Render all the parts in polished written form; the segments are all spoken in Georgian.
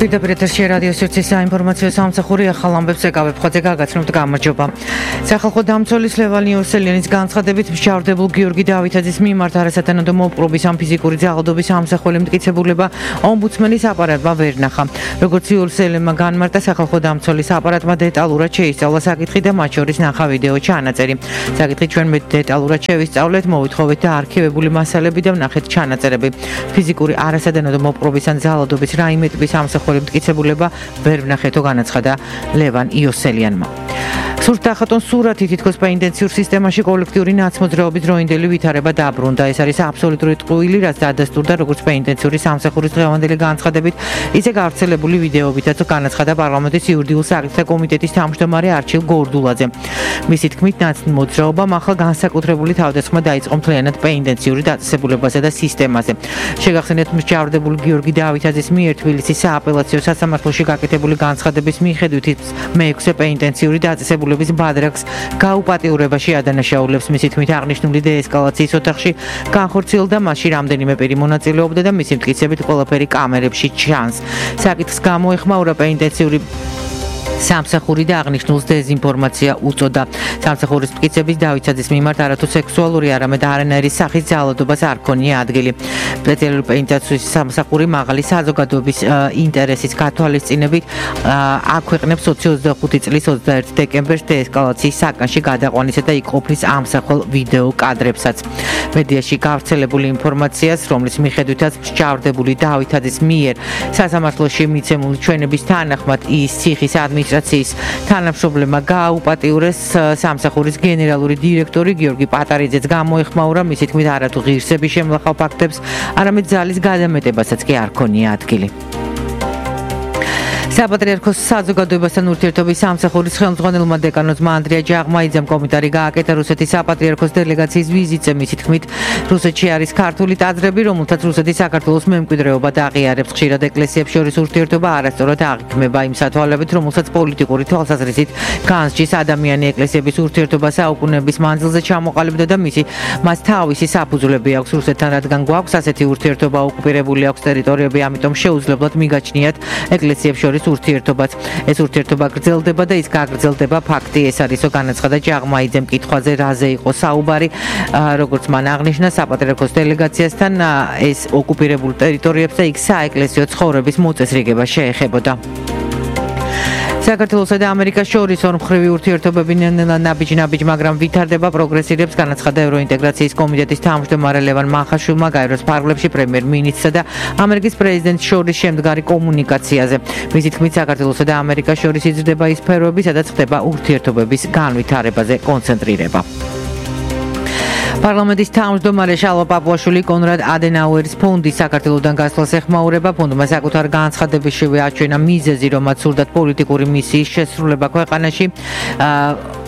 პირდაპირ ეთერში რადიო სივრცის საინფორმაციო სამსახური ახალ ამბებს ეკავებ ხოძე გაგაცნობთ გამარჯობა. Სახალხო დამცველის ლევან იოსელიანის განცხადებით მსჯავრდებულ გიორგი დავითაძის მიმართ არასათანადო მოპყრობის ან ფიზიკური ძალადობის ამსახველი მტკიცებულება ომბუდსმენის აპარატმა ვერ ნახა. Როგორც იოსელიანმა განმარტა, სახალხო დამცველის აპარატმა დეტალურად შეისწავლა საკითხი და მათ შორის ნახა ვიდეო ჩანაწერი. Საკითხი ჩვენ დეტალურად შევისწავლეთ, მოვითხოვეთ და არქივებული მასალები და ვნახეთ ჩანაწერები. ფიზიკური არასათანადო მოპყრობის ან ძალადობის რაიმე ტიპის ამსახველი მტკიცებულება ვერ ვნახეთო, განაცხადა ლევან იოსელიანმა. Სურთახატონ სურათი თითქოს პენიტენციურ სისტემაში კოლექტიური ნაცმოძრაობის დროინდელი ვითარება დაბრუნდა. ეს არის აბსოლუტური ტყუილი, რაც დადასტურდა როგორც პენიტენციური სამსახურის დღევანდელი განცხადებით, ისე გავრცელებული ვიდეოებითაც, განაცხადა პარლამენტის იურიდიულ საკითხთა კომიტეტის თავმჯდომარე არჩილ გორდულაძე. მისი თქმით, ნაცმოძრაობამ ახლა განსაკუთრებული თავდასხმა დაიწყო მთლიანად პენიტენციური დაწესებულებაზე და სისტემაზე. შეგახსენებთ, მსჯავრდებულ გიორგი დავითაძის მიერ თბილისის სააპელაციო სასამართლოში გაკეთებული განცხადების მიხედვით მე-6 პენიტენციური დაწესებულებების ბადრაგს გაუპატიურებაში ადანაშაულებს. მისი თქმით, აღნიშნული დეესკალაციის ოთახში განხორციელდა, მასში რამდენიმე პირი მონაწილეობდა და მისი მტკიცებით ყველაფერი კამერებში ჩანს. საკითხს გამოეხმაურა პენიტენციური სამსახური და აღნიშნულს დეზინფორმაცია უწოდა. სამსახურის მტკიცების დავითაძის მიმართ არათუ სექსუალური, არამედ არანაირი სახის ძალადობას არ ქონია ადგილი. სპეციალური პენიტენციის სამსახური მაღალი საზოგადოების ინტერესის გათვალისწინებით აქვეყნებს 2025 წლის 21 დეკემბერს დეესკალაციის საკანში გადაყვანისა და იქ ყოფნის ამსახველ ვიდეო კადრებსაც. მედიაში გავრცელებული ინფორმაციას, რომლის მიხედვითაც მსჯავრდებული დავითაძის მიერ სასამართლოში მიცემული ჩვენების თანახმად ის ციხის ადმინისტრაციის თანამშრომლებმა გააუპატიურეს სამსახურის გენერალური დირექტორი გიორგი პატარიძეც გამოეხმაურა. მისი თქმით, არათუ ღირსების შემლახავ ფაქტებს, არამედ ძალის გადამეტებასაც კი არ ქონია ადგილი. საპატრიარქოს საზოგადოებასთან ურთიერთობის სამსახურის ხელმძღვანელმა დეკანოზმა ანდრია ჯაღმაიძემ კომენტარი გააკეთა რუსეთის საპატრიარქოს დელეგაციის ვიზიტზე. მისი თქმით, რუსეთში არის ქართული ტაძრები, რომელთაც რუსეთი საქართველოს მემკვიდრეობა აღიარებს. ხშირად ეკლესიებს შორის ურთიერთობა არასწორად აღიქმება იმ სათვალებით, რომელსაც პოლიტიკური თვალსაზრისით განსჯის. ადამიანი ეკლესიების ურთიერთობა საუკუნეების მანძილზე ჩამოყალიბდა და მას თავისი საფუძვლები აქვს რუსეთთან, რადგან გვაქვს ასეთი ურთიერთობა, ოკუპირებული აქვს ტერიტორიები, ამიტომ შეუძლებელად მიგაჩნიათ ეკლესიებს შორის ურთიერთობაც. ეს ურთიერთობა გრძელდება და ის გაგრძელდება, ფაქტი ეს არისო, განაცხადა ჯაღმაიძემ კითხვაზე, რაზე იყო საუბარი. როგორც მან აღნიშნა, საპატრიარქოს დელეგაციასთან ეს ოკუპირებულ ტერიტორიებს და იქ საეკლესიო ცხოვრების მოწესრიგება შეეხებოდა. საქართველოსა და ამერიკას შორის ორმხრივი ურთიერთობები ნაბიჯ, მაგრამ ვითარდება, პროგრესირებს, განაცხადა ევროინტეგრაციის კომიტეტის თავმჯდომარე ლევან მახაშვილმა გაეროს ფარგლებში პრემიერ-მინისტრსა და ამერიკის პრეზიდენტს შორის შემდგარი კომუნიკაციაზე. მისი თქმით, საქართველოსა და ამერიკას შორის იზრდება ის სფეროები, სადაც ხდება ურთიერთობების განვითარებაზე კონცენტრირება. პარლამენტის თავმჯდომარე შალვა პაპუაშვილი კონრად ადენაუერის ფონდის საქართველოსთან გასვლას ეხმაურება. ფონდმა საკუთარ განცხადებაშივე აჩვენა მიზეზი, რომ მათ სურდათ პოლიტიკური მისიის შესრულება ქვეყანაში.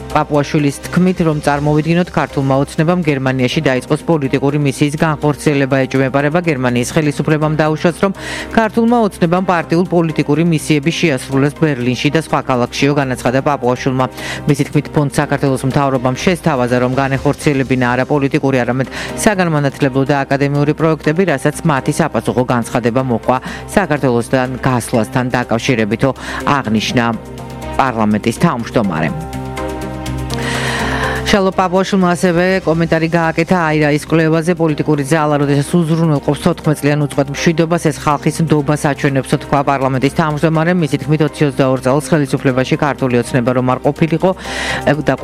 პაპუაშვილის თქმით, რომ წარმოვიდგინოთ, ქართულმა ოცნებამ გერმანიაში დაიწყოს პოლიტიკური მისიის განხორციელება. ეჭვმეპარება გერმანიის ხელისუფლებამ დაუშვას, რომ ქართულმა ოცნებამ პარტიულ პოლიტიკური მისიები შეასრულეს ბერლინში და სხვა ქალაქშიო, განაცხადა პაპუაშვილმა. მისი თქმით, ფონდ საქართველოს მთავრობამ შესთავაზა, რომ განეხორციელებინა არა პოლიტიკური, არამედ საგანმანათლებლო და აკადემიური პროექტები, რასაც მათი საპასუხო განცხადება მოყვა საქართველოსთან გასვლასთან დაკავშირებითო, აღნიშნა პარლამენტის თავმჯდომარემ. შალვა პაპუაშვილმა ასევე კომენტარი გააკეთა აირაის კვლევაზე. პოლიტიკური ძალა, როდესაც უზრუნველყოფს 14 წლიან უწყვეტ მშვიდობას, ეს ხალხის ნდობას აჩვენებს, თქვა პარლამენტის თავმჯდომარემ. მისი თქმით, 22 წელს ხელისუფლებაში ქართული ოცნება რომ არ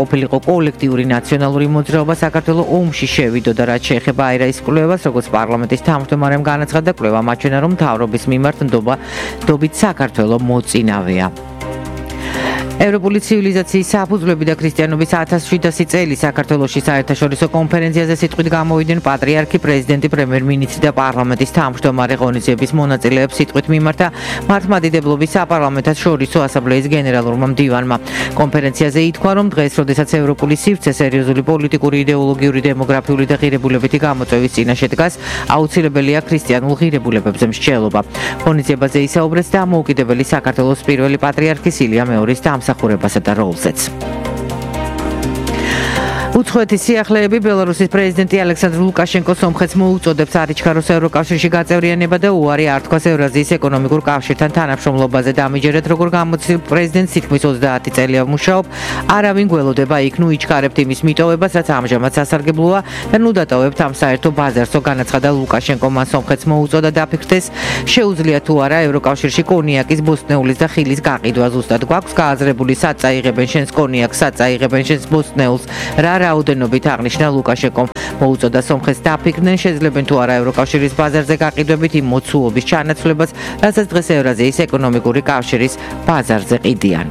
ყოფილიყო კოლექტიური ნაციონალური მოძრაობა, საქართველოს ომში შევიდოდა. რაც შეეხება აირაის კვლევას, როგორც პარლამენტის თავმჯდომარემ განაცხადა, კვლევამ აჩვენა, რომ მთავრობის მიმართ ნდობით საქართველოს მოწინავეა. ევროპული ცივილიზაციის საფუძვლები და ქრისტიანობის 1700 წელი საქართველოში საერთაშორისო კონფერენციაზე სიტყვით გამოვიდნენ პატრიარქი, პრეზიდენტი, პრემიერ-მინისტრი და პარლამენტის თავმჯდომარე. ღონისძიების მონაწილეებს სიტყვით მიმართა მართლმადიდებლობის საპარლამენტო შორისო ასამბლეის გენერალურმა მდივანმა. კონფერენციაზე ითქვა, რომ დღეს, როდესაც ევროპული სივრცე სერიოზული პოლიტიკური, იდეოლოგიური, დემოგრაფიული და ღირებულებითი გამოწვევის წინაშე დგას, აუცილებელია ქრისტიანულ ღირებულებებზე მსჯელობა. ღონისძიებაზე ისაუბრეს დამოუკიდებელი საქართველოს პირველი პატრიარქის ილია მეორის დამსახურებასა და როლზეც. უცხოეთის სიახლეები ბელარუსის პრეზიდენტი ალექსანდრ ლუკაშენკო სომხეთს მოუწოდებს არიჩქაროს ევროკავშირში გაწევრიანება და უარი არ თქვას ევრაზიის ეკონომიკურ კავშირთან თანამშრომლობაზე. დამიჯერეთ, როგორ გამოცდილ პრეზიდენტს თითქმის 30 წელია მუშაობ, არავინ გველოდება იქ ნუ იჩქარებთ იმის მიტოვებას, რაც ამჟამად სასარგებლოა და ნუ დატოვებთ ამ საერთო ბაზარსო, განაცხადა ლუკაშენკო. მან სომხეთს მოუწოდა დაფიქრდეს, შეუძლია თუ არა ევროკავშირში კონიაკის, ბოსტნეულის და ხილის გაყიდვა. ზუსტად გვაქვს გააზრებული, სად წაიღებენ შენს კონიაკს, სად წაიღებენ შენს ბოსტნეულს. რა რაოდენობით აღნიშნა ლუკაშენკომ. მოუწოდა სომხეთს დაფიქრდნენ, შეძლებენ თუ არა ევროკავშირის ბაზარზე გაყიდვებით იმ მოცულობის ჩანაცვლებას, რასაც დღეს ევრაზიის ეკონომიკური კავშირის ბაზარზე ყიდიან.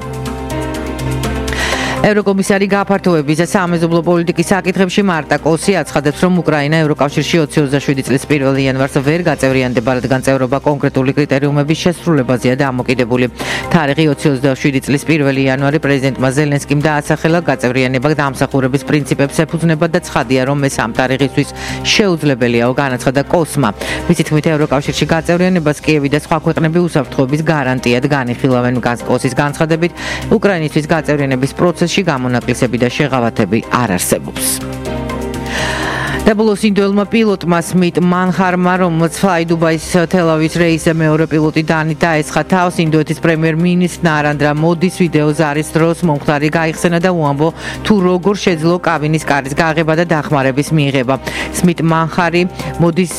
ევროკომისარი გაფართოების და სამეზობლო პოლიტიკის საკითხებში მარტა კოსი აცხადებს, რომ უკრაინა ევროკავშირში 2027 წლის 1 იანვარს ვერ გაწევრიანდება, რადგან წევრობა კონკრეტული კრიტერიუმების შესრულებაზეა დამოკიდებული. თარიღი 2027 წლის 1 იანვარი პრეზიდენტმა ზელენსკიმ დაასახელა, გაწევრიანება დამსახურების პრინციპებს ეფუძნება და ცხადია, რომ ეს ამ თარიღისთვის შეუძლებელიაო, განაცხადა კოსმა. მისი თქმით, ევროკავშირში გაწევრიანებას კიევი და სხვა ქვეყნები უსაფრთხოების გარანტიად განიხილავენ. კოსის განცხადებით, უკრაინისთვის გაწევრიანების პროცესში გამონაკლისები და შეღავათები არ არსებობს. დაბლოს ინდოელმა პილოტმა სმით მანხარმა, რომელსაც Fly Dubai-ის თელ-ავივის რეისზე მეორე პილოტი დანი დაესხა თავს, ინდოეთის პრემიერ-მინისტრ ნარანდრა მოდის ვიდეო ზარის დროს მომხდარი გაიხსენა და უამბო, თუ როგორ შეძლო კაბინის კარის გაღება და დახმარების მიღება. სმით მანხარი მოდის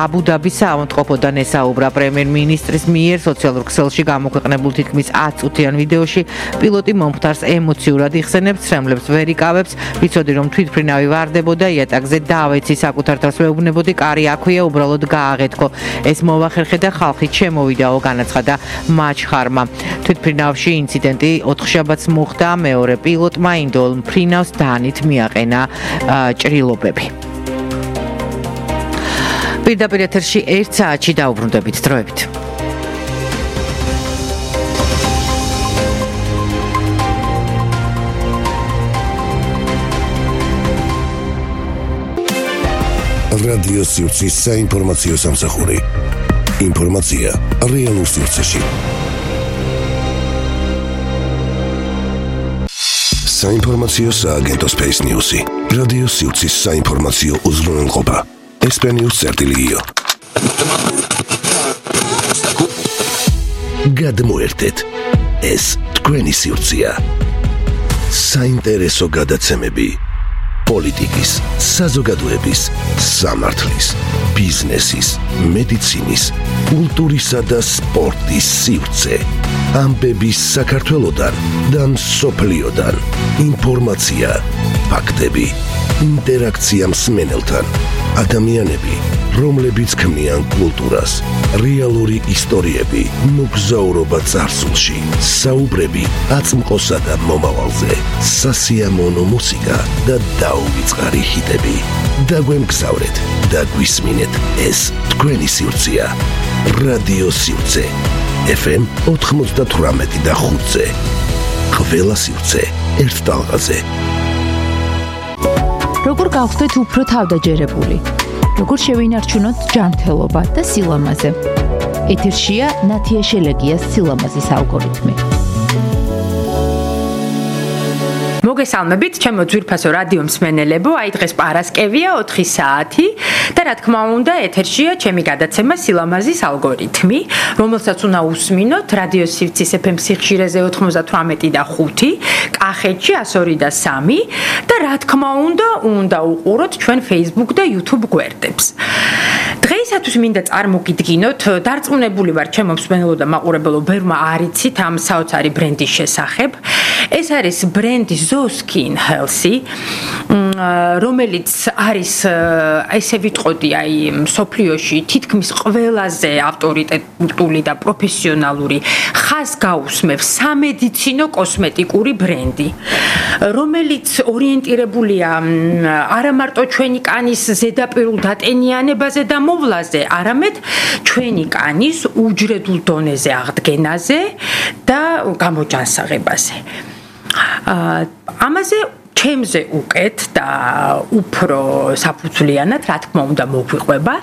აბუ-დაბის საავადმყოფოდან ესაუბრა პრემიერ-მინისტრის მიერ სოციალურ ქსელში გამოქვეყნებულ თითქმის 10 წუთიან ვიდეოში. პილოტი მომხდარს ემოციურად იხსენებს, ცრემლებს ვერ იკავებს, ვიცოდი რომ თვითმფრინავი ვარდებოდა, იატაკზე დავეცი, საკუთარ თავს ვეუბნებოდი, კარი აქვია, უბრალოდ გააღეთქო. ეს მოვახერხე და ხალხი ჩემოვიდაო, განაცხადა მაჩხარმა. თვითმფრინავში ინციდენტი 4 შაბათს მოხდა, მეორე პილოტმა ინდოელ მფრინავს დანით მიაყენა ჭრილობები. პირდაპირ ეთერში 1 საათში დაუბრუნდებით დროებით. რადიო სივრცის საინფორმაციო სამსახური. ინფორმაცია რეალურ სივრცეში. საინფორმაციო სააგენტო Space News-ი. რადიო სივრცის საინფორმაციო უზრუნველყოფა. ესპანიურ წერტილიო. გადმოერთეთ. ეს თქვენი სივრცეა. საინტერესო გადაცემები. პოლიტიკის, საზოგადოების, სამართლის, ბიზნესის, მედიცინის, კულტურისა და სპორტის სივრცე. ამბების საქართველოდან და მსოფლიოდან. ინფორმაცია, ფაქტები, ინტერაქცია მსმენელთან. ადამიანები, რომლებიც ქმნიან კულტურას, რეალური ისტორიები, მოგზაურობა წარსულში, საუბრები აწმყოსა და მომავალზე, სასიამოვნო მუსიკა და დაუვიწყარი ჰიტები. დაგვემგზავრეთ და გვისმინეთ, ეს თქვენი სივრცეა. რადიო სივრცე. FM 98 და 5-ზე. ყველა სივრცე ერთ ტალღაზე. როგორ გავხდეთ უფრო თავდაჯერებული? როგორ შევინარჩუნოთ ჯანმრთელობა და სილამაზე? ეთერშია ნათია შელეგიას სილამაზის ალგორითმი. მოგესალმებით, ჩემო ძვირფასო რადიო მსმენელებო, აი დღეს პარასკევია 4 საათი და რა თქმა უნდა ეთერშია ჩემი გადაცემა სილამაზის ალგორითმი, რომელსაც უნდა უსმინოთ რადიო სივრცის FM სიხშირეზე 98 და 5, კახეთში 102 და 3 და რა თქმა უნდა უყუროთ ჩვენ Facebook და YouTube გვერდებს. დღეისათვის მინდა წარმოგიდგინოთ, დარწმუნებული ვარ ჩემო მსმენელო და მაყურებელო, ბევრმა არ იცით ამ საოცარი ბრენდის შესახებ. ეს არის ბრენდი Zoskin Healthy, რომელიც არის ესე ვიტყოდი, აი სოფლიოში თითქმის ყველაზე ავტორიტეტული და პროფესიონალური ხაზგაუსმებს სამედიცინო კოსმეტიკური ბრენდი, რომელიც ორიენტირებულია არა მარტო ჩვენი კანის ზედაპირულ დატენიანებაზე და მოვლაზე, არამედ ჩვენი კანის უჯრედულ დონეზე აღდგენაზე და გამოჯანსაღებაზე. ამაზე ჩემზე უკეთ და უფრო საფუძვლიანად, რა თქმა უნდა, მოგვიყვება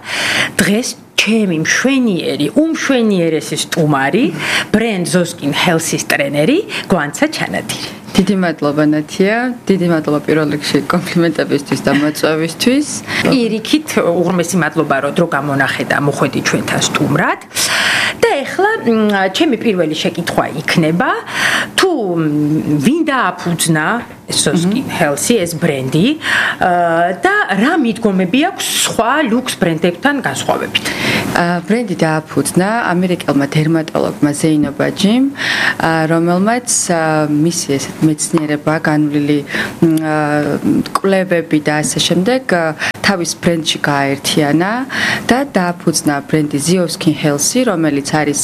დღეს ჩემი მშვენიერი, უმშვენიერესი სტუმარი, ბრენდ Zoskin Healthy-ის ტრენერი, გვანცა ჩანადირი. დიდი მადლობა ნათია, დიდი მადლობა პირველ რიგში კომპლიმენტებისთვის და მოწვევისთვის. პირიქით უღრმესი მადლობა რომ დრო გამონახე და მოხვედი ჩვენთან სტუმრად. და ეხლა ჩემი პირველი შეკითხვა იქნება, თუ ვინ დააფუძნა Skin Healthy ეს ბრენდი და რა მიდგომები აქვს სხვა ლუქს ბრენდებთან განსხვავებით? ბრენდი დააფუძნა ამერიკელმა დერმატოლოგმა ზეინობაჯიმ, რომელმაც მისი ესეთ მეცნიერება, განვლილი კვლევები და ასე შემდეგ თავის ბრენდში გააერთიანა და დააფუძნა ბრენდი Zio Skin Healthy, რომელიც არის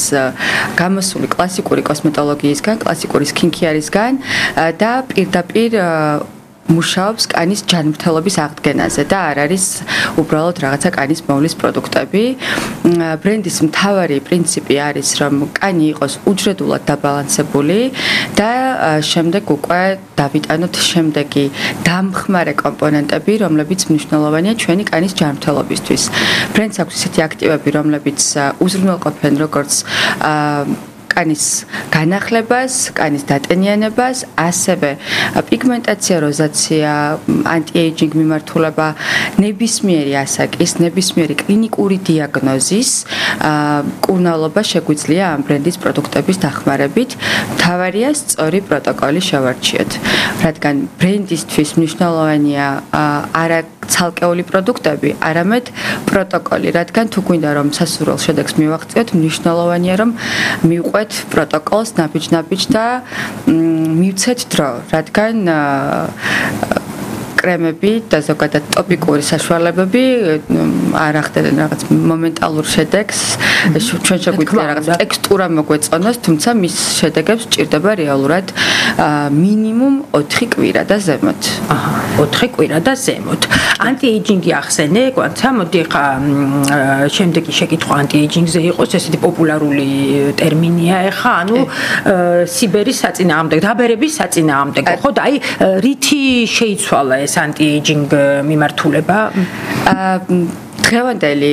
გამოსული კლასიკური კოსმეტოლოგიისგან, კლასიკური სკინკეარისგან და პირდაპირ მუშაობს კანის ჯანმრთელობის აღდგენაზე და არ არის უბრალოდ რაღაცა კანის მოვლის პროდუქტები. ბრენდის მთავარი პრინციპი არის, რომ კანი იყოს უჯრედულად დაბალანსებული და შემდეგ უკვე დავიტანოთ შემდეგი დამხმარე კომპონენტები, რომლებიც მნიშვნელოვანია ჩვენი კანის ჯანმრთელობისთვის. ბრენდს აქვს ისეთი აქტივები, რომლებიც უზრუნველყოფენ როგორც კანის განახლებას, კანის დატენიანებას, ასევე პიგმენტაცია, როზაცია, ანტიეიჯინგ მიმართულება, ნებისმიერი ასაკის, ნებისმიერი კლინიკური დიაგნოზის კურნალობა შეგვიძლია ამ ბრენდის პროდუქტების დახმარებით. მთავარია სწორი პროტოკოლი შევარჩიოთ, რადგან ბრენდისთვის მნიშვნელოვანია არა ცალკეული პროდუქტები, არამედ პროტოკოლი, რადგან თუ გვინდა რომ სასურველ შედეგს მივაღწიოთ, მნიშვნელოვანია რომ მივყვეთ პროტოკოლს ნაბიჯ-ნაბიჯ და მივცეთ დრო, რადგან კრემები და ზოგადად ტოპიკური საშუალებები არ ახდენენ რაღაც მომენტალურ შედეგს, ჩვენ შეგვიძლია რაღაც ტექსტურა მოგვეწონოს, თუმცა მის შედეგებს სჭირდება რეალურად მინიმუმ 4 კვირა და ზემოთ. 4 კვირა და ზემოთ. ანტიეიჯინგი ახსენე, კვანცა, მოდი ხა შემდეგი შეკითხვა ანტიეიჯინგზე იყოს, ესეთი პოპულარული ტერმინია ეხა, ანუ სიბერის საწინააღმდეგო, დაბერების საწინააღმდეგო, ხო და აი რითი შეიცვალა ეს anti-aging მიმართულება? დღევანდელი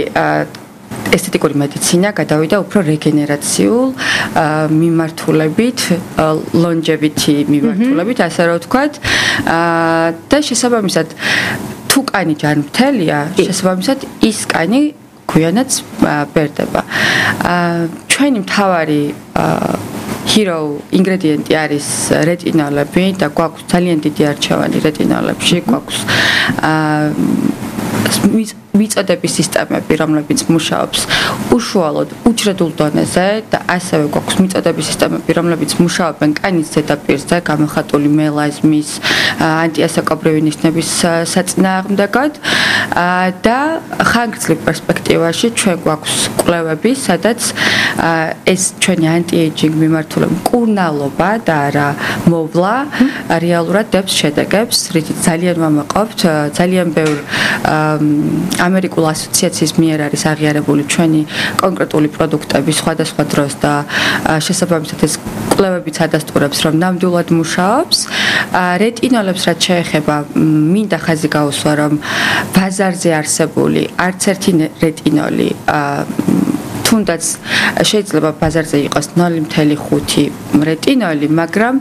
ესთეტიკური მედიცინა გადავიდა უფრო რეგენერაციულ მიმართულებით, longevity მიმართულებით, ასე რომ ვთქვათ, და შესაბამისად თუ კანი ჯანმრთელია, შესაბამისად ის კანი გვიანაც ბერდება. ჩვენი მთავარი hero ინგრედიენტი არის რეტინოლები და გვაქვს ძალიან დიდი არჩევანი რეტინოლებში, გვაქვს მიწოდების სისტემები, რომლებიც მუშაობს უშუალოდ უჯრედულ დონეზე და ასევე გვაქვს მიწოდების სისტემები, რომლებიც მუშაობენ კანის ზედაპირზე, გამოხატული მელაზმის, ანტიასაკობრივი ნიშნების საწინააღმდეგოდ და ხანგრძლივ პერსპექტივაში ჩვენ გვაქვს კვლევები, სადაც ეს ჩვენი anti-aging მიმართულება მკურნალობა და არა მოვლა რეალურად დებს შედეგებს, რითიც ძალიან ვამაყობთ, ძალიან ბევრ ამერიკულ ასოციაციის მიერ არის აღიარებული ჩვენი კონკრეტული პროდუქტები სხვადასხვა დროს და შესაბამისად ეს კვლევებიც ადასტურებს, რომ ნამდვილად მუშაობს. რეტინოლებს რაც შეეხება, მინდა ხაზი გაუსვა, რომ ბაზარზე არსებული არც ერთი რეტინოლი თუნდაც შეიძლება ბაზარზე იყოს 0.5 რეტინოლი, მაგრამ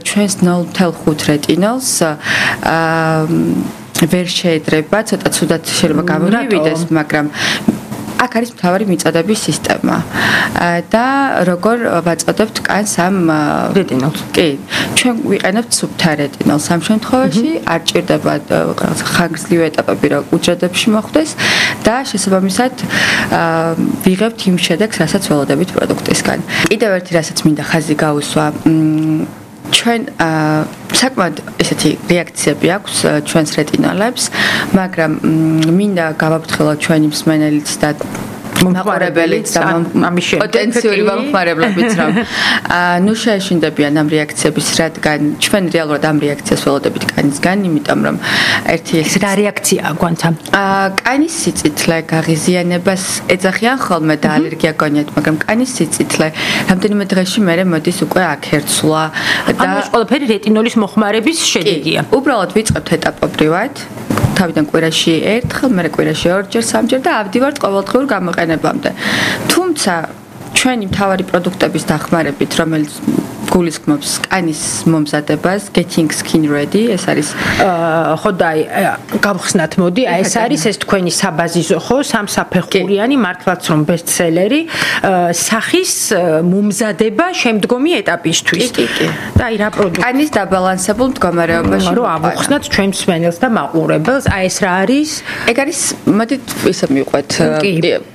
ჩვენს 0.5 რეტინოლს ვერ შეედრება, ცოტა ცუდად შეიძლება გამოვიდეს, მაგრამ აქ არის მთავარი მიწოდების სისტემა და როგორ ვაწოდებთ კანს ამ რეტინოლს. კი, ჩვენ ვიყენებთ სუფთა რეტინოლს ამ შემთხვევაში, არ ჭირდება ხანგრძლივი ეტაპები, რომ უჯრედებში მოხვდეს და შესაბამისად ვიღებთ იმ შედეგს, რასაც ველოდებით პროდუქტისგან. კიდევ ერთი რასაც მინდა ხაზი გაუსვა, ჩვენ საკმაოდ ესეთი რეაქციები აქვს ჩვენს რეტინოლებს, მაგრამ მინდა გავაფრთხილოთ ჩვენი მსმენელიც და მომხმარებელიც და პოტენციური მომხმარებლებიც, რომ ნუ შეეშინდებიან ამ რეაქციების, რადგან ჩვენ რეალურად ამ რეაქციას ველოდებით კანისგან, იმიტომ რომ ერთი რა რეაქციაა გვანცა? კანის სიწითლე გაღიზიანებას ეძახიან ხოლმე და ალერგია გონიათ, მაგრამ კანის სიწითლე რამდენიმე დღეში მერე მოდის უკვე აქერცვლა და ეს ყველაფერი რეტინოლის მოხმარების შედეგია. უბრალოდ ვიწყებთ ეტაპობრივად. თავიდან კვირაში ერთხელ, მერე კვირაში ორჯერ, სამჯერ და ავდივართ ყოველდღიურ გამოყენებამდე. თუმცა ჩვენი მთავარი პროდუქტების დახმარებით, რომელიც გულისხმობს კანის მომზადებას, getting skin ready, ეს არის ხო და გავხსნათ მოდი, ეს არის ეს თქვენი საბაზისო ხო, სამსაფეხურიანი მართლაც რომ ბესტსელერი, სახის მომზადება შემდგომი ეტაპისთვის. კი. და აი რა პროდუქტი? კანის დაბალანსებულ მდგომარეობაში. რომ ავუხსნათ ჩვენ მსმენელს და მაყურებელს, აი ეს რა არის? ეგ არის, მოდით ისე მივყვეთ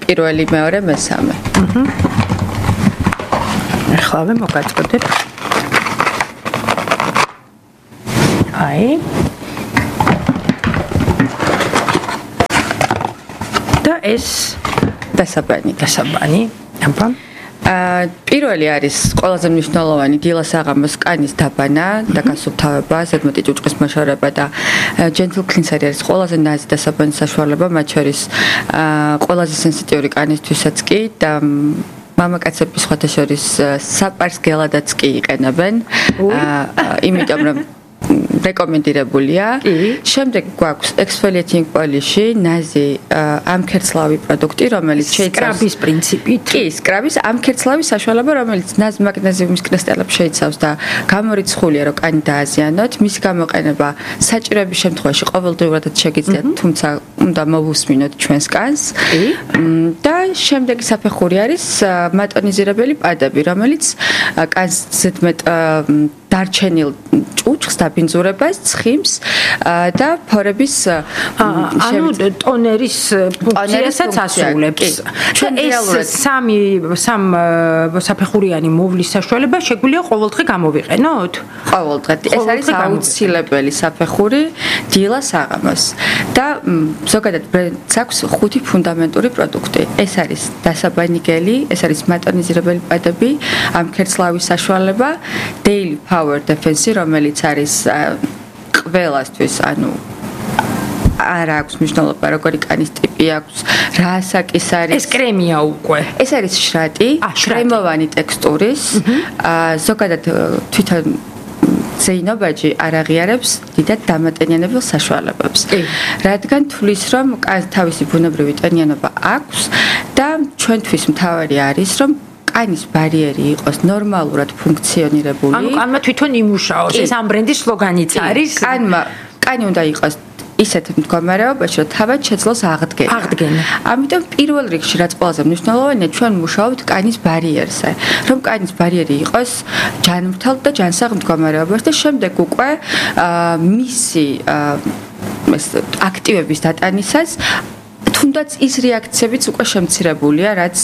პირველი, მეორე, მესამე. ახლავე მოგაწოდებ. აი. და ეს დასაბანი. აბა. პირველი არის ყველაზე მნიშვნელოვანი დილას აღამოს კანის დაბანა და გასუფთავება, ზედმეტი ჭუჭყის მოშორება და gentle cleanser არის ყველაზე ნაზი დასაბანის საშუალება, მათ შორის ყველაზე სენსიტიური კანისთვისაც კი და მამაკაცების სხვათა შორის საპარს გელადაც კი იყენებენ. იმიტომ რომ რეკომენდირებულია. შემდეგ გვაქვს exfoliating polish-ი, ნაზი ამქერცლავი პროდუქტი, რომელიც შეიცავს სკრაბის პრინციპით. კი, სკრაბის ამქერცლავი საშუალება, რომელიც ნაზ მაგნეზიუმის კრისტალებს შეიცავს და გამორიცხულია, რომ კანი დააზიანოთ. მისი გამოყენება საჭიროების შემთხვევაში ყოველდღიურად შეგიძლიათ, თუმცა უნდა მოვუსმინოთ ჩვენს კანს. და შემდეგი საფეხური არის მატონიზირებელი პადები, რომელიც კანს ზედმეტ დარჩენილ ჭუჭხს და ბინძურებას ცხიმს და ფორების ანუ ტონერის ფუნქციასაც ასრულებს. ეს სამი საფეხურიანი მოვლის საშუალება შეგვიძლია ყოველდღე გამოვიყენოთ? ყოველდღე. ეს არის აუცილებელი საფეხური დილას აღამოს. და ზოგადად ბრენდს აქვს 5 ფუნდამენტური პროდუქტი. ეს არის დასაბანი გელი, ეს არის მატონიზირებელი პადები, ამქერცლავის საშუალება, daily power defense, რომელიც არის ყველასთვის, ანუ არ აქვს მნიშვნელობა როგორი კანის ტიპი აქვს, რა ასაკის არის. ეს კრემია უკვე. ეს არის შრატი, კრემოვანი ტექსტურის. ზოგადად თვითონ ზეინობაჯი არ აღიარებს დიდად დამატენიანებელ საშუალებებს. რადგან თulis რომ თავისი ბუნებრივი ტენიანობა აქვს და ჩვენთვის მთავარი არის რომ კანის ბარიერი იყოს ნორმალურად ფუნქციონირებული. ანუ კანმა თვითონ იმუშაოს. ეს ამ ბრენდის სლოგანიც არის. კანი უნდა იყოს ისეთ მდგომარეობაში, რომ თავად შეძლოს აღდგენა. ამიტომ პირველ რიგში რაც ყველაზე მნიშვნელოვანია, ჩვენ მუშაობთ კანის ბარიერზე. რომ კანის ბარიერი იყოს ჯანმრთელ და ჯანსაღ მდგომარეობაში და შემდეგ უკვე მისი აქტივების დატანისას თუნდაც ის რეაქციებიც უკვე შემცირებულია, რაც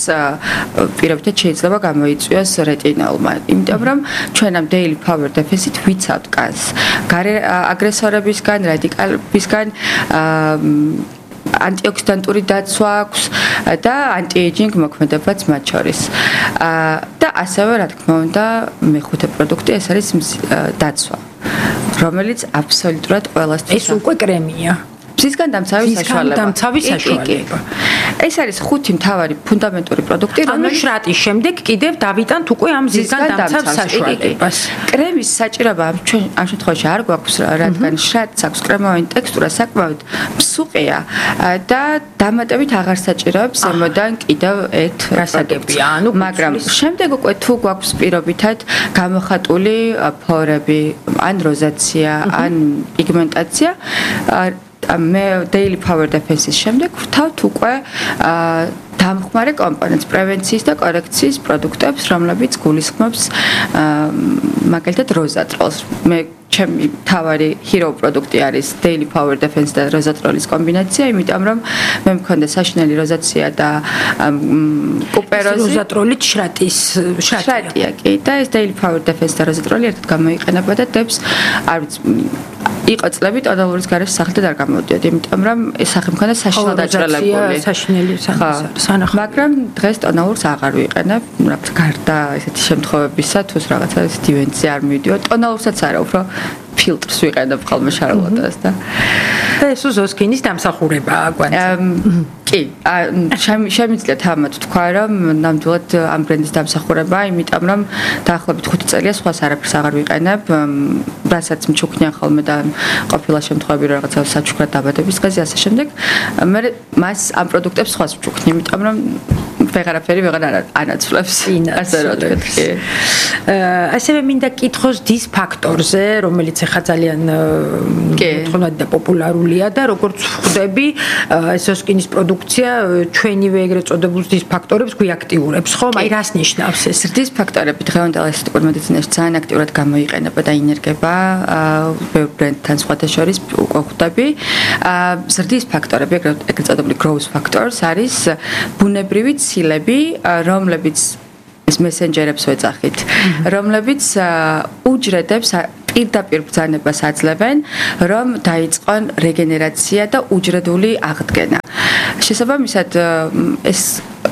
პირობითად შეიძლება გამოიწვიოს რეტინოლმა. იმიტომ რომ ჩვენ ამ daily power defense-ით ვიცავთ კანს. გარე აგრესორებისგან, რადიკალებისგან ანტიოქსიდანტური დაცვა აქვს და anti-aging მოქმედებაც მათ შორის. და ასევე, რა თქმა უნდა, მეხუთე პროდუქტი ეს არის დაცვა, რომელიც აბსოლუტურად ყველასთვის ეს უკვე კრემია. მზისგან დამცავი საშუალება. ეს არის 5 მთავარი ფუნდამენტური პროდუქტი, რომელიც შრატის შემდეგ კიდევ დავიტანთ უკვე ამ მზისგან დამცავ საშუალებას. კრემის საჭიროება ამ შემთხვევაში არ გვაქვს, რადგან შრატს აქვს კრემოვანი ტექსტურა, საკმაოდ მსუყია და დამატებით აღარ საჭიროებს ზემოდან კიდევ ერთ რასაგებია. ანუ მაგრამ შემდეგ უკვე თუ გვაქვს პირობითად გამოხატული ფორები, ან როზაცია, ან პიგმენტაცია, მე daily power defense-ის შემდეგ ვთავთ უკვე დამხმარე კომპონენტს, პრევენციის და კორექციის პროდუქტებს, რომლებიც გულისხმობს მაგალითად როზატროლს. მე ჩემი თავარი hero პროდუქტი არის daily power defense და როზატროლის კომბინაცია, იმიტომ რომ მე მქონდა საშინელი როზაცია და კუპეროზი. როზატროლით შრატია კი და ეს daily power defense და როზატროლი ერთად გამოიყენება და დებს არ ვიცი იყო წლები ტონალურის გარეშე სახლიდან არ გამოდიოდი, იმიტომ რომ ეს სახე მქონდა საშინელ დაჭრელებული. საშინელი სანახავი. მაგრამ დღეს ტონალურს აღარ ვიყენებ, რაღაც გარდა ესეთი შემთხვევებისა, თუ რაღაცა ესეთი ივენტზე არ მივიდიო. ტონალურსაც არა, უფრო ფილტრს ვიყენებ ხოლმე შარლოტას და ეს უზოსკინის დამსახურებაა კვანტ. კი, შემიძლია თამათ თქვა, რომ ნამდვილად ამ ბრენდის დამსახურებაა, იმიტომ რომ დაახლოებით 5 წელია სხვას არაფერს აღარ ვიყენებ, რასაც მჩუქნიან ხოლმე და ყოფილა შემთხვევები რომ რაღაცა საჩუქრად დაბადების დღეზე ასე შემდეგ. მე მას ამ პროდუქტებს სხვას ვჩუქნი, იმიტომ რომ ვეღარაფერი ანაცვლებს. ასე რომ ვთქვი. ასევე მინდა კითხოს დის ფაქტორზე, რომელიც ახლა ძალიან მოთხოვნადი და პოპულარულია და როგორც ხვდები, ესოსკინის პროდუქცია ჩვენივე ეგრეთ წოდებულ დის ფაქტორებს გვიაქტიურებს, ხო? აი რას ნიშნავს ეს? დის ფაქტორები დღევანდელ ესეთიკურ მედიცინაში ძალიან აქტიურად გამოიყენება და ინერგება ბევრ ბრენდთან სხვათა შორის უკვე ხვდები. ზრდის ფაქტორები, ეგრეთ წოდებული growth factors არის ბუნებრივი ცილები, რომლებიც ეს მესენჯერებს ვეძახით, რომლებიც უჯრედებს პირდაპირ ბრძანებას აძლევენ, რომ დაიწყონ რეგენერაცია და უჯრედული აღდგენა. შესაბამისად, ეს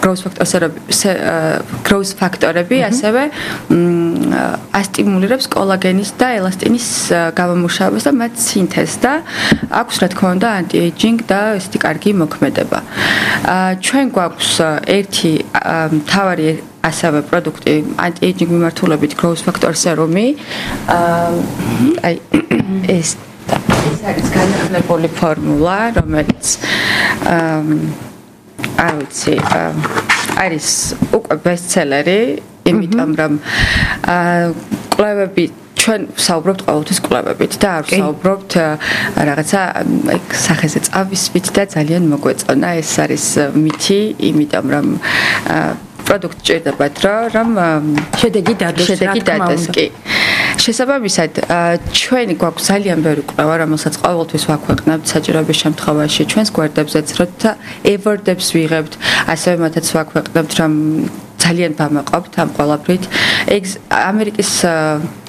growth factor-ები ასევე ასტიმულირებს კოლაგენის და ელასტინის გამომუშავებას და მათ სინთეზს და აქვს რა თქმა უნდა anti-aging და ესეთი კარგი მოქმედება. ჩვენ გვაქვს ერთი მთავარი ასევე პროდუქტი anti-aging მიმართულებით growth factor serum-ი. აი ეს არის განახლებული ფორმულა, რომელიც არ ვიცი, არის უკვე ბესტსელერი, იმიტომ რომ კვლევები ჩვენ საუბრობთ ყოველთვის კვლევებით და არ ვსაუბრობთ რაღაცა სახეზე წავისვით და ძალიან მოგვეწონა ეს არის მითი, იმიტომ რომ პროდუქტი ჭირდებათ რომ შედეგი დადეს კი. შესაბამისად, ჩვენი გვაქვს ძალიან ბევრი კვლევა, რომელსაც ყოველთვის ვაქვეყნებთ საჭიროების შემთხვევაში ჩვენს გვერდებზეც, როცა ევორდებს ვიღებთ, ასევე მათაც ვაქვეყნებთ, რომ ძალიან ვამაყობთ ამ ყველაფრით. ამერიკის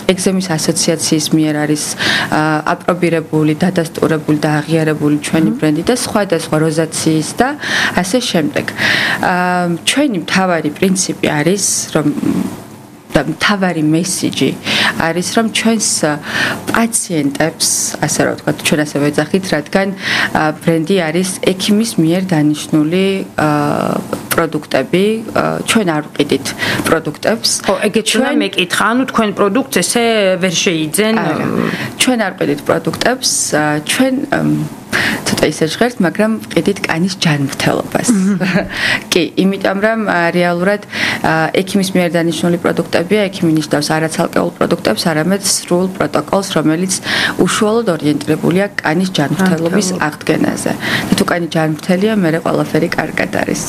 ეგზემის ასოციაციის მიერ არის აპრობირებული, დადასტურებული და აღიარებული ჩვენი ბრენდი და სხვადასხვა როზაციის და ასე შემდეგ. ჩვენი მთავარი პრინციპი არის, რომ და მთავარი მესიჯი არის, რომ ჩვენს პაციენტებს, ასე რომ ვთქვათ, ჩვენ ასე ვეძახით, რადგან ბრენდი არის ექიმის მიერ დანიშნული პროდუქტები, ჩვენ არ ვყიდით პროდუქტებს. ხო, ეგეც უნდა მეკითხა, ანუ თქვენ პროდუქტს ესე ვერ შეიძენ? ჩვენ არ ვყიდით პროდუქტებს, ჩვენ ცოტა ისე ჟღერთ, მაგრამ ვყიდით კანის ჯანმრთელობას. კი, იმიტომ რომ რეალურად ექიმის მიერ დანიშნული პროდუქტებია, ექიმი ნიშნავს არაცალკეულ პროდუქტებს, არამედ სრულ პროტოკოლს, რომელიც უშუალოდ ორიენტირებულია კანის ჯანმრთელობის აღდგენაზე. და თუ კანი ჯანმრთელია, მერე ყველაფერი კარგად არის.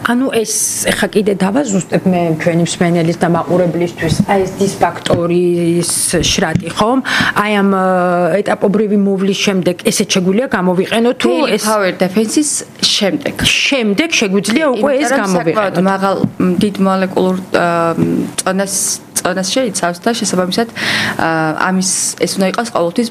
ანუ ეს ახლა კიდე დავაზუსტებ მე ჩვენი მსმენელის და მაყურებლისთვის აი ეს დისფაქტორის შრატი ხომ? აი ამ ეტაპობრივი მოვლის შემდეგ ესეც შეგვიძლია გამოვიყენო თუ ეს power defense-ის შემდეგ. შემდეგ შეგვიძლია უკვე ეს გამოვიყენოთ. მაღალ დიდ მოლეკულურ წონას შეიცავს და შესაბამისად ამის ეს უნდა იყოს ყოველთვის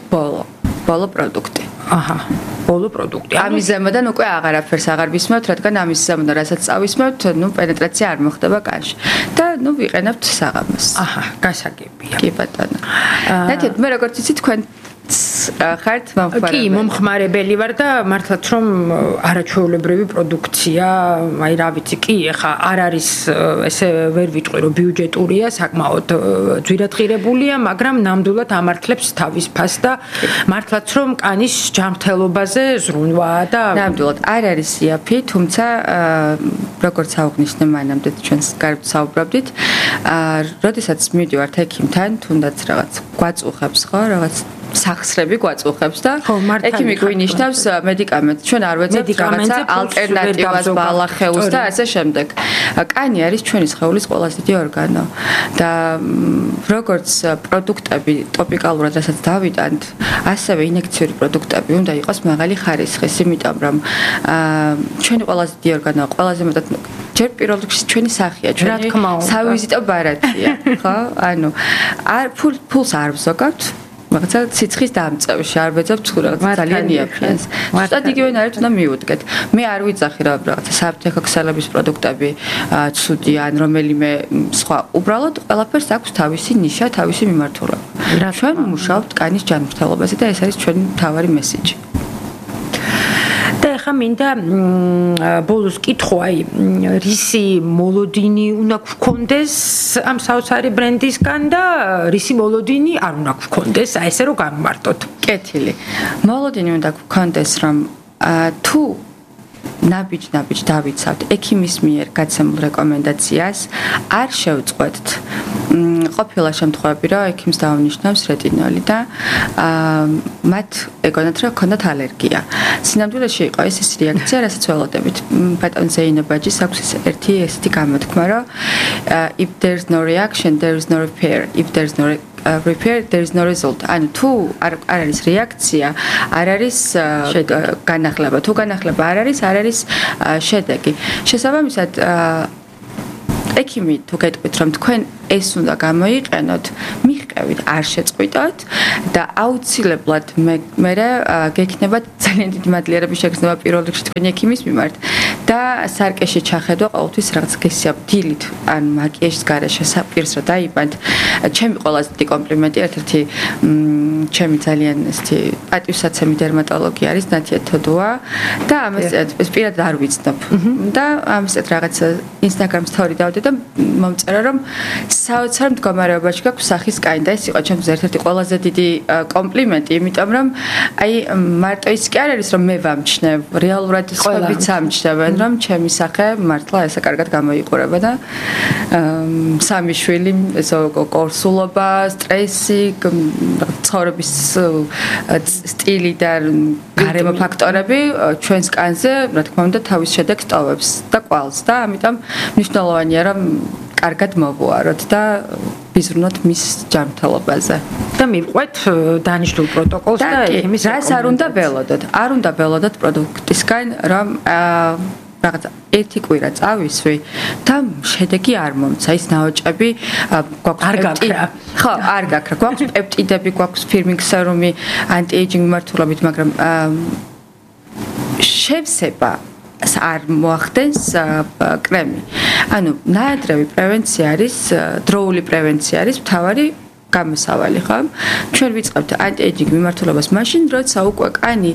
ბოლო პროდუქტი. აჰა. ბოლო პროდუქტი. ამის ზემოდან უკვე აღარაფერს აღარ ვისმევთ, რადგან ამის ზემოდან რასაც წავისმევთ, პენეტრაცია არ მოხდება კანში. და ვიყენებთ საღამოს. აჰა, გასაგებია. კი ბატონო. ნათეთ, მე როგორც იცი თქვენ ხართ კი, მომხმარებელი ვარ და მართლაც რომ არაჩვეულებრივი პროდუქცია, აი რა ვიცი, კი, ახლა არ არის ესე ვერ ვიტყვი რომ ბიუჯეტურია, საკმაოდ ძვირადღირებულია, მაგრამ ნამდვილად ამართლებს თავის ფასს და მართლაც რომ კანის ჯანმრთელობაზე ზრუნვაა და ნამდვილად არ არის იაფი, თუმცა როგორც აღვნიშნე მანამდე ჩვენს გარეთ საუბრობდით, როდესაც მივდივართ ექიმთან, თუნდაც რაღაც გვაწუხებს ხო, რაღაც სახსრები გვაწუხებს და ექიმი გვინიშნავს მედიკამენტს. ჩვენ არ ვეძებთ რაღაცა ალტერნატივას, ბალახეულს და ასე შემდეგ. კანი არის ჩვენი სხეულის ყველაზე დიდი ორგანო და როგორც პროდუქტები ტოპიკალურად რასაც დავიტანთ, ასევე ინექციური პროდუქტები უნდა იყოს მაღალი ხარისხის, იმიტომ რომ ჩვენი ყველაზე დიდი ორგანო, ყველაზე მეტად ჯერ პირველ რიგში ჩვენი სახეა, ჩვენი სავიზიტო ბარათია, ხო? ანუ ფულს არ ვზოგავთ. რაღაცა სიცხის დამწევში არ ვეძებთ რაღაცა ძალიან იაფიანს. ზუსტად იგივე არის უნდა მიუდგეთ. მე არ ვიძახი რა რაღაცა საფთექო ქსელების პროდუქტები ცუდია ან რომელიმე სხვა. უბრალოდ ყველაფერს აქვს თავისი ნიშა, თავისი მიმართულება. ჩვენ მუშაობთ კანის ჯანმრთელობაზე და ეს არის ჩვენი მთავარი მესიჯი. და ახლა მინდა ბოლოს კითხვა, აი რისი მოლოდინი უნდა გქონდეს ამ საოცარი ბრენდისგან და რისი მოლოდინი არ უნდა გქონდეს, აი ესე რომ გამმართოთ. კეთილი. მოლოდინი უნდა გქონდეს, რომ თუ ნაბიჯ დავიცავთ ექიმის მიერ გაცემულ რეკომენდაციას, არ შევწყვეტთ ყოფილა შემთხვევები, რომ ექიმს დაუნიშნავს რეტინოლი და მათ ეგონათ, რომ ჰქონდათ ალერგია. სინამდვილეში იყო ეს რეაქცია, რასაც ველოდებით. ბატონ ზეინებაჯის აქვს ერთი ესეთი გამოთქმა, რომ if there is no reaction, there is no repair. If there is no repair, there is no result. ანუ თუ არ არის რეაქცია, არ არის განახლება. თუ განახლება არ არის შედეგი. შესაბამისად ექიმი თუ გეტყვით, რომ თქვენ ეს უნდა გამოიყენოთ, მიხყევით, არ შეწყვიტოთ და აუცილებლად მე გექნებათ ძალიან დიდი მადლიერების შეგრძნება პირველ რიგში თქვენი ექიმის მიმართ და სარკეში ჩახედვა ყოველთვის რაღაც გესიაფდილით ან მაკიაჟის გარეშე საპირს რა დაიბანთ. ჩემი ყველაზე დიდი კომპლიმენტი ერთ-ერთი ჩემი ძალიან ესეთი პატივსაცემი დერმატოლოგი არის ნათია თოდუა და ამას ეს პირადად არ ვიცნობ და ამისეთ რაღაც Instagram story დავდე და მომწერა რომ საოცარ მდგომარეობაში გაქვს სახის კაინ და ეს იყო ჩემთვის ერთ-ერთი ყველაზე დიდი კომპლიმენტი, იმიტომ რომ აი მარტო ის კი არ არის რომ მე ვამჩნევ, რეალურად სხვაებიც ამჩნევენ, რომ ჩემი სახე მართლა ესე კარგად გამოიყურება და სამი შვილი, ესო კორსულობა, სტრესი, ცხოვრების სტილი და გარემო ფაქტორები ჩვენს კანზე, რა თქმა უნდა, თავის შედეგს ტოვებს და კვალს და ამიტომ მნიშვნელოვანია რომ კარგად მოვუაროთ და ვიზრუნოთ მის ჯანმრთელობაზე. და მივყვეთ დანიშნულ პროტოკოლს და იმის რას არ უნდა ველოდოთ? არ უნდა ველოდოთ პროდუქტისგან, რომ რაღაცა ერთი კვირა წავისვი და შედეგი არ მომცა. ის ნაოჭები გვაქვს არ გაქრა. ხო, არ გაქრა. გვაქვს პეპტიდები, გვაქვს ფირმინგ სერუმი, ანტი-ეიჯინგ მიმართულებით, მაგრამ შევსება არ მოახდენს კრემი. ანუ ნაადრევი პრევენცია არის, დროული პრევენცია არის მთავარი გამოსავალი, ხო? ჩვენ ვიწყებთ ანტი-ეიჯინგ მიმართულებას მაშინ, როცა უკვე კანი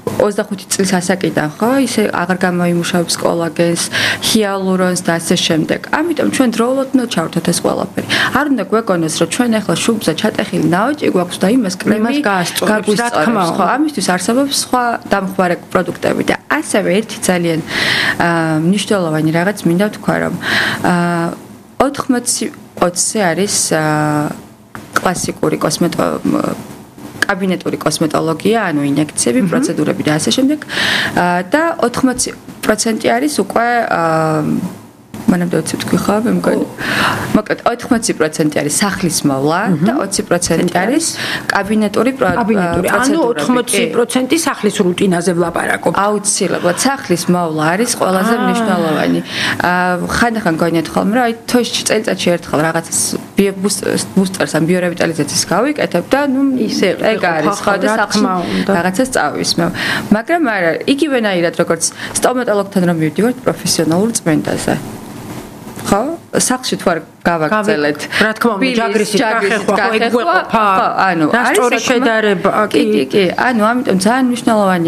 25 წლის ასაკიდან, ხო, ისე აღარ გამოიმუშავებს კოლაგენს, ჰიალურონს და ასე შემდეგ. ამიტომ ჩვენ დროულად უნდა ჩავთოთ ეს ყველაფერი. არ უნდა გვეკონოს, რომ ჩვენ ახლა შუბზე ჩატეხილი ნაოჭი გვაქვს და იმას კრემი გაგვისწორებს, ხო? ამისთვის არსებობს სხვა დამხმარე პროდუქტები და ასევე ერთი ძალიან მნიშვნელოვანი რაღაც მინდა ვთქვა, რომ 80-ზე არის კლასიკური კაბინეტური კოსმეტოლოგია, ანუ ინიექციები, პროცედურები და ასე შემდეგ. და 80% არის უკვე მანამდე 20 თქვი ხო, მე მგონი. მოკლედ 80% არის სახლის მოვლა და 20% არის კაბინეტური პროცედურები. ანუ 80% სახლის რუტინაზე ვლაპარაკობ. აუცილებლად სახლის მოვლა არის ყველაზე მნიშვნელოვანი. ხანდახან გონიათ ხოლმე, რომ აი თოში წელიწადში ერთხელ რაღაცას ბუსტერს ან ბიორევიტალიზაციის გავიკეთებ და ნუ ისე ეგ არის ხო და სახში რაღაცას წავისმევ. მაგრამ არა, იგივენაირად როგორც სტომატოლოგთან რომ მივდივართ პროფესიონალურ წმენდაზე. ხო, სახში თუ არ გავაგრძელეთ. რა თქმა უნდა, ჯაგრისით გახეხვა, ხო, ეგ გვეყოფა. ანუ და სწორი შედარება, კი, ანუ ამიტომ ძალიან მნიშვნელოვანია